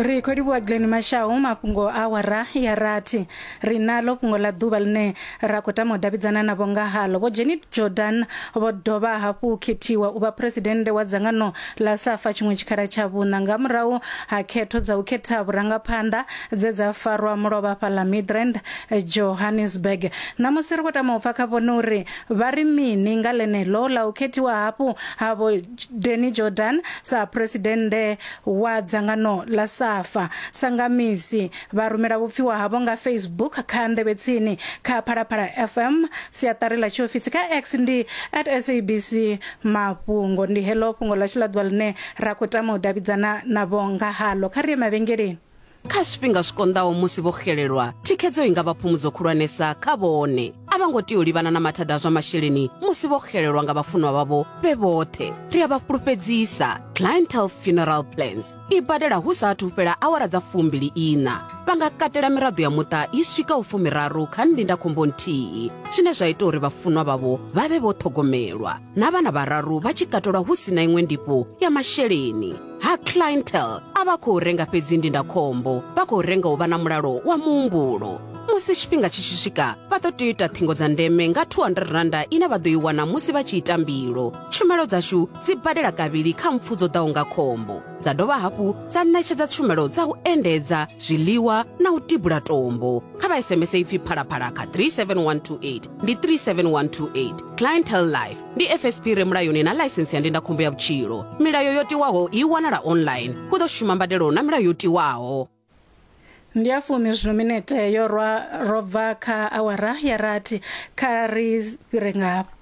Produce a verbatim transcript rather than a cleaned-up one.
Ri khou livhuwa Glen Mashau. Mafhungo a awara ya rathi, ri nalo fhungo ḽa ḓuvha ḽine ra khou tama u davhidzana navho nga halo. Vho Jenny Jordan vho dovha hafhu khethiwa u vha phuresidennde wa dzangano ḽa SAFA tshiṅwe tshikhala tsha vhuṋa nga murahu ha khetho dza u khetha vhurangaphanḓa dze dza farwa mulovha fhaḽa Midrand, Johannesburg. Ṋamusi ri khou tama u pfa kha vhone uri vha ri mini nga ḽeneḽo ḽa u khethiwa hafhu ha Vho Danny Jordan sa phuresidennde wa dzangano ḽa SAFA. Sa nga misi vha rumela vhupfiwa havho nga Facebook kha Nḓevhe Tsini kha Phalaphala F M, siaṱari ḽa tshiofisi kha X ndi at S A B C Mafhungo. Ndi heḽo fhungo ḽashu ḽa ḓuvha ḽine ra khou tama u davhidzana navho nga halo. Kha ri ye mavhengeleni. Kha zwifhinga zwi konḓaho musi vho xelelwa, thikhedzo i nga vha phumudzo khulwanesa kha vhone. A vha ngo tea u livhana na mathada a zwa masheleni musi vho xelelwa nga vhafunwa vhavho vhe vhoṱhe. Ri a vha fhulufhedzisa, Clientele Funeral Plans i badela hu sa athu fhela awara dza fumbili ina. Vha nga katela miraḓo ya muṱa i swikaho fumiraru kha ndindakhombo nthihi, zwine zwa ita uri vhafunwa vhavho vha vhe vho ṱhogomelwa na vhana vhararu vha tshi katelwa hu sina iṅwe ndifho ya masheleni. Ha Clientele a vha khou renga fhedzi ndindakhombo, vha khou renga u vha na mulalo wa muhumbulo. Musi tshifhinga tshi tshi swika, vha ḓo tea u ita ṱhingo dza ndeme nga two hundred randa ine vha ḓo i wana musi vha tshi ita mbilo. Tshumelo dzashu dzi badela kavhili kha mpfu dzo ḓaho nga khombo, dza dovha hafhu dza ṋetshedza tshumelo dza u endedza, zwiḽiwa na u tibula tombo. Kha vha S M S ipfi Phalaphala kha three seven one two eight, ndi three seven one two eight. Clientele Life ndi F S P re mulayoni na ḽaisensi ya ndindakhombo ya vhutshilo. Milayo yo tiwaho i wanala online. Hu ḓo shuma mbadelo na milayo yo tiwaho. Ndi a fumi zwino minete yo rwa ro bva kha awara ya rathi. Kha ri fhire nga hafha.